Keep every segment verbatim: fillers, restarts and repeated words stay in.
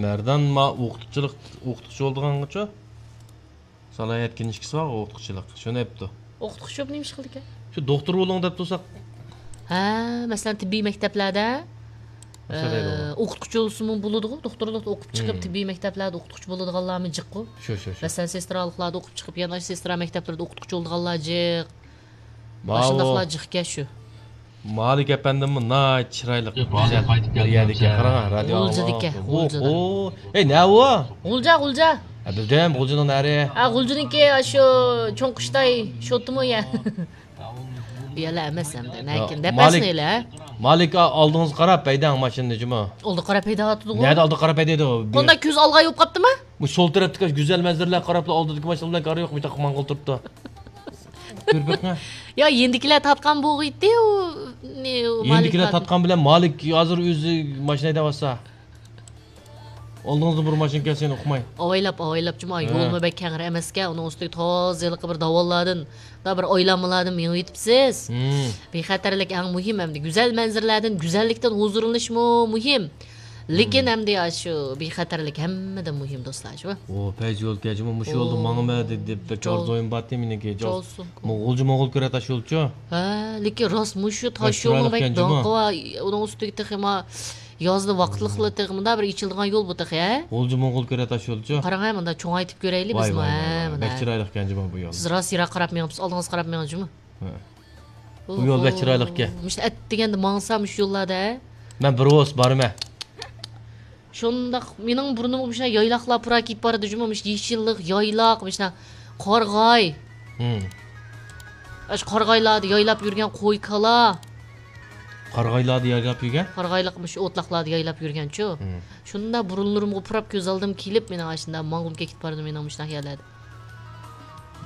مەردان ما ئوقۇتقۇچىلىق، ئوقۇتقۇچى بولىدىغانغىچۇ؟ سالاھىيەت كىنىشكىسى بار ئوقۇتقۇچىلىق. شۇنى ئەپتۇ. ئوقۇتقۇچى بولۇپ نېمە ئىش قىلىدىكەن؟ شۇ دوختۇر بولۇڭ دەپ تۇرساق. ھە، مەسىلەن، تېببىي مەكتەپلەردە، ئوقۇتقۇچى بولسىمۇ بولىدىغۇ، دوختۇرلۇقتا ئوقۇپ چىقىپ، تېببىي مەكتەپلەردە ئوقۇتقۇچى بولىدىغانلارمۇ جىققۇ. شۇ، شۇ، شۇ. مەسىلەن، سېسترالىقلاردا ئوقۇپ چىقىپ، يەنە سېسترا مەكتەپلىرىدە ئوقۇتقۇچى بولىدىغانلار جىق. ماۋۇ ئاشۇنداقلار جىقكەن شۇ. مالىك ئەپەندىممۇ ناھايىتى چىرايلىق، گۈزەل بىر يەردىكەن. قاراڭ، رادىيو غۇلجىدىكەن، غۇلجىدىن. ئوھو. ئەي، نە ئۇ؟ غۇلجا، غۇلجا. ھە، بىلدىم، غۇلجىنىڭ نەرى. ھە، غۇلجىنىڭكى ئاشۇ چوڭ قۇشتاي شوتىمۇ يە؟ ئۇ يەرلەر ئەمەس ئەمدى. لېكىن دەپ بەرسىنە ئۆيلە. مالىك، ئا، ئالدىڭىزغا قاراپ ھەيدەڭ ماشىنىنى جۇمۇ. ئالدىغا قاراپ ھەيدەۋاتىدىغۇ. نەدە ئالدىغا قاراپ ھەيدەيدۇ؟ قانداق كۆز ئالغا يوپ قاپتىما؟ بۇ سول تەرەپتىكى گۈزەل مەنزىرىلەرگە قاراپلا ئالدىدىكى ماشىنا بىلەن كارى يوق، مۇشۇنداق ماڭغىلى تۇرۇپتۇ. كۆرۈپ بېقىڭە. يا، يېنىدىكىلەر تارتقان بولغىيتتى، ئۇ، نى، ئۇ يېنىدىكىلەر مالىك تارتقان بىلەن مالىك ھازىر ئۆزى ماشىنا ھەيدەۋاتسا. ئالدىڭىزدا بىر ماشىنا كەلسە يەنە ئۇقماي. ئاۋايلاپ، ئاۋايلاپ جۇمۇ، ھە. يولمۇ بەك كەڭرى ئەمەسكەن، ئۇنىڭ ئۈستىگە تازا ھېلىقى بىر داۋانلاردىن، دا بىر ئايلانمىلاردىن مېڭىۋېتىپسىز. ھىم. بىخەتەرلىك ئەڭ مۇھىم ئەمدى. گۈزەل مەنزىرىلەردىن، گۈزەللىكتىن ھۇزۇرلىنىشمۇ مۇھىم. لېكىن ھىم. ئەمدى ئاشۇ بىخەتەرلىك ھەممىدىن مۇھىم، دوستلار، شۇ. ئو، پەيزى يول كەجىمۇ مۇشۇ يولدا ئو. ماڭىمەن دەپ، دەپ بەك چاۋ. ئارزۇيۇم بارتى مېنىڭكى. چاۋسۇن. مو-، غۇلجا موڭغۇل كۆرە تاش يولچۇ. ھە، لېكىن راست مۇشۇ تاش يولنىڭ بەك داڭقى بار. ئۇنىڭ ئۈستىگە تېخى ما يازدا ۋاقىتلىقلا تېخى مۇنداق بىر ئېچىلىدىغان يول بۇ تېخى، ھە؟ غۇلجا موڭغۇل كۆرە تاش يولچۇ. قاراڭ ھە، مۇنداق چوڭايتىپ كۆرەيلى بىزمۇ، ھە، مۇنداق. بەك چىرايلىق ئىكەن جۇمۇ بۇ يول. سىز راست يىراق قاراپ مېڭىپسىز، ئالدىڭىزغا قاراپ مېڭىڭ جۇمۇ. ھە. بۇ يول بەك چىرايلىق ئىكەن. مۇشۇ ئەتىگەندە ماڭسا مۇشۇ يوللاردا، ھە؟ مەن بىر ۋوس بارىمەن. شۇنداق، مېنىڭ بۇرنۇمغا مۇشۇ يايلاقلار پۇرا كېلىپ بارىدۇ جۇمۇ، مۇشۇ يېشىللىق، يايلاق، مۇشۇ قارىغاي. ھىم. ئاشۇ قارىغايلاردا يايلاپ يۈرگەن قوي، كالا. قارىغايلاردا يايلاپ يۈرگەن؟ قارىغايلىق مۇشۇ ئوتلاقلاردا يايلاپ يۈرگەنچۇ. ھىم. شۇنداق بۇرۇنلىرىمغا پۇراپ كۆز ئالدىم كېلىپ، مېنىڭ ئاشۇنداق ماڭغۇم كېلىپ بارىدۇ مېنىڭ مۇشۇنداق يەرلەردە.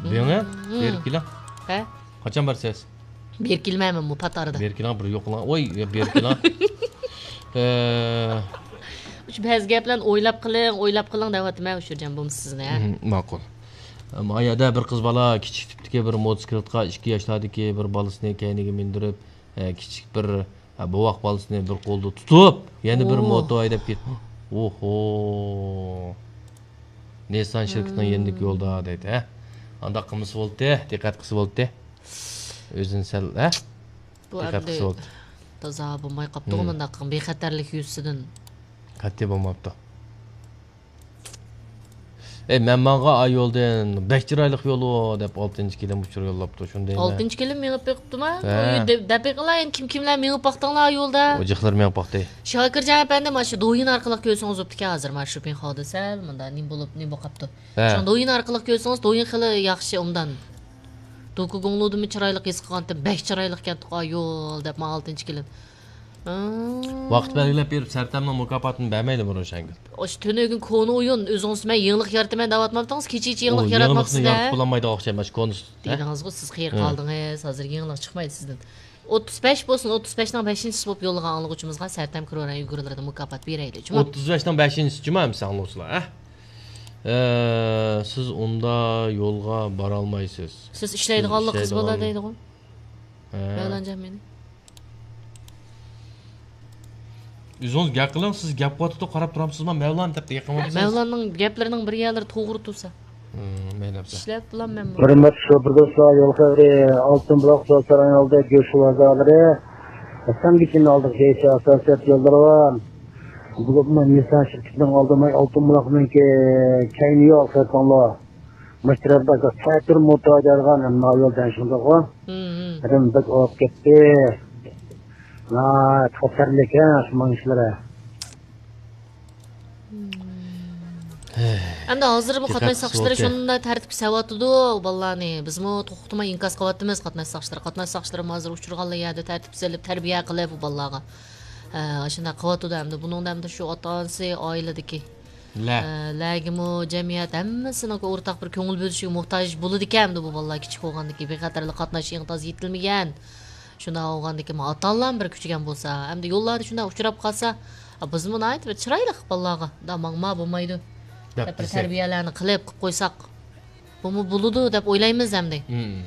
بېڭە، ھىم. بېرىپ كېلىڭ. ھە؟ قاچان بارىسىز؟ بېرىپ كېلىمەنمۇ پات ئارىدا. بېرىپ كېلىڭ، بىر يوقىلاڭ. ۋاي، بېرىپ كېلىڭ. ئە، شۇ بەزى گەپلەرنى ئويلاپ قىلىڭ، ئويلاپ قىلىڭ دەۋاتىمەن، ئۇشۇرجان بولمىسا سىزنى، ھە؟ مم، ماقۇل. ئەمما ئايادا بىر قىز بالا كىچىك تىپتىكى بىر موتوسىكلىتقا ئىككى ياشلاردىكى بىر بالىسىنى كەينىگە مىندۈرۈپ، ئە، كىچىك بىر، ئە، بوۋاق بالىسىنى بىر قولدا تۇتۇپ، يەنە بىر ئوھ. موتو ھەيدەپ كېتىپ، ئوھو. نىسسان شىركىتىنىڭ يېنىدىكى يولدا دەيدۇ، ھە؟ ئانداق قىلمىسا بولتى، دىققەت قىلسا بولتى. ئۆزىنى سەل، ھە؟ بۇ دىققەت ئەمدى قىلسا بولتى. تازا بولماي قاپتۇغۇ مۇنداق بىخەتەرلىك يۈزىسىدىن. قەتئىي بولماپتۇ. ئەي، مەن ماڭغان ئا يولدىن بەك چىرايلىق يول ئۇ دەپ ئالتىنچى كېلىن ئۇچۇر يوللاپتۇ، شۇنى دەيمەن. ئالتىنچى كېلىن مېڭىپ بېقىپتۇما؟ ھە. ئۇ يول دەپ، دەپ بېقىڭلار، يەنە كىم كىملەر مېڭىپ باقتىڭلار ئا يولدا؟ ئۇ جىقلىرى مېڭىپ باقتى. شاكىرجان ئەپەندىم، مانا شۇ دويىن ئارقىلىق كۆرسىڭىز بوپتىكەن، ھازىر مانا شۇ پىنخادا سەل مۇنداق نېمە بولۇپ، نېمە بولۇپ قاپتۇ. ھە. شۇڭا دويىن ئارقىلىق كۆرسىڭىز، دويىن خېلى ياخشى، ئوبدان. دوكۇگۇڭلۇدىمۇ چىرايلىق ھېس قىلغانتىم، بەك چىرايلىقكەنتۇق ئا يول دەپ، ماڭا ئالتىنچى كېلىن. ۋاقىت بەلگىلەپ بېرىپ، سەرتەمنىڭ مۇكاپاتىنى بەرمەيلىمۇ روشەنگۈل؟ ئاشۇ تۈنۈگۈن كونا ئويۇن، ئۆزىڭىز مەن يېڭىلىق يارىتىمەن دەۋاتماپتىڭىز، كېچىچە يېڭىلىق ياراتماپسىز-دە. يېڭىلىقنى يارىتىپ بولالمايدىغان ئوخشايمەن، كونىسى. دېدىڭىزغۇ، سىز قېرى قالدىڭىز، ھازىر يېڭىلىق چىقمايدۇ سىزدىن. ئوتتۇز بەش بولسۇن، ئوتتۇز بەشنىڭ بەشىنچىسى بولۇپ يوللىغان ئاڭلىغۇچىمىزغا سەرتەم كىروران ئۇيغۇرلىرىدىن مۇكاپات بېرەيلى، جۇمۇ. ئوتتۇز بەشنىڭ بەشىنچىسى جۇمۇ ئەمسە ئاڭلىغۇچىلار، ھە؟ ئە، سىز ئۇندا يولغا بارالمايسىز. سىز ئىشلەيدىغانلىقىڭىز بولا دەيدىغۇ. ھە. مەۋلانجان مېنى. ئۆزىڭىز گەپ قىلىڭ، سىز گەپ قىلىۋاتىدۇ، قاراپ تۇرامسىزما؟ مەۋلان دەپ يېقىنماپسىز. مەۋلاننىڭ گەپلىرىنىڭ بىر يەرلىرى توغرا تۇرسا. ھىم، مەيلى ئەمسە. ئىشلەپ بولام مەنمۇ. ھۆرمەتلىك شوپۇر دوستلار، يول خەۋىرى، ئالتۇن بۇلاق سودا سارايىنىڭ ئالدىدا گۆش بازارلىرى، ئەسلەنگىچىنىڭ ئالدىغا ئاساسىيەت يوللىرى بار. بولۇپمۇ نىسسان شىركىتىنىڭ ئالدى، ئالتۇن بۇلاقنىڭكى كەينى يول خېرىتىڭلار. مۇشۇ تەرەپتە تەتۈر موتور ھەيدەيدىغان ھەممە يول دەڭشىڭدىغۇ. ھىم، ھىم. ھەدەم بەك ئاغىپ كەتتى. ناھايىتى خەتەرلىك ھە، شۇ ماڭىشلىرى. ئەمدى ھازىرمۇ قاتناش ساقچىلىرى شۇنداق تەرتىپكە سېلىۋاتىدۇ بالىلارنى. بىزمۇ توختىماي ئىنكاس قىلىۋاتىمىز قاتناش ساقچىلىرى. قاتناش ساقچىلىرىمۇ ھازىر ئۇچرىغانلا يەردە تەرتىپ سېلىپ، تەربىيە قىلىپ بۇ بالىلارغا. ھە، ئاشۇنداق قىلىۋاتىدۇ ئەمدى. بۇنىڭدا ئەمدى شۇ ئاتا-ئانىسى، ئائىلىدىكى لە. ئە، لەگىمۇ جەمئىيەت ھەممىسىنىڭ ئورتاق بىر كۆڭۈل بۆلۈشىگە موھتاج بولىدىكەن ئەمدى بۇ بالىلار كىچىك بولغاندىكىن، بىخەتەرلىك قاتناش ئېڭى تازا يېتىلمىگەن. شۇنداق بولغاندىكىن، ئاتا-ئانىلارمۇ بىر كۈچىگەن بولسا، ئەمدى يوللاردا شۇنداق ئۇچراپ قالسا، ئا، بىزمۇ ناھايىتى بىر چىرايلىق بالىلارغا، دا ماڭما بولمايدۇ دەپ بىر تەربىيەلەرنى قىلىپ، قىلىپ قويساق، بۇمۇ بولىدۇ دەپ ئويلايمىز ئەمدى. مم.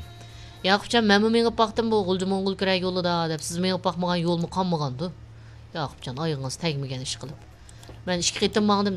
ياقۇپجان، مەنمۇ مېڭىپ باقتىم بۇ غۇلجا موڭغۇل كىرەي يولىدا دەپ، سىز مېڭىپ باقمىغان يولمۇ قالمىغاندۇ. ياقۇپجان، ئايىغىڭىز تەگمىگەن ئىش قىلىپ. مەن ئىككى قېتىم ماڭدىم.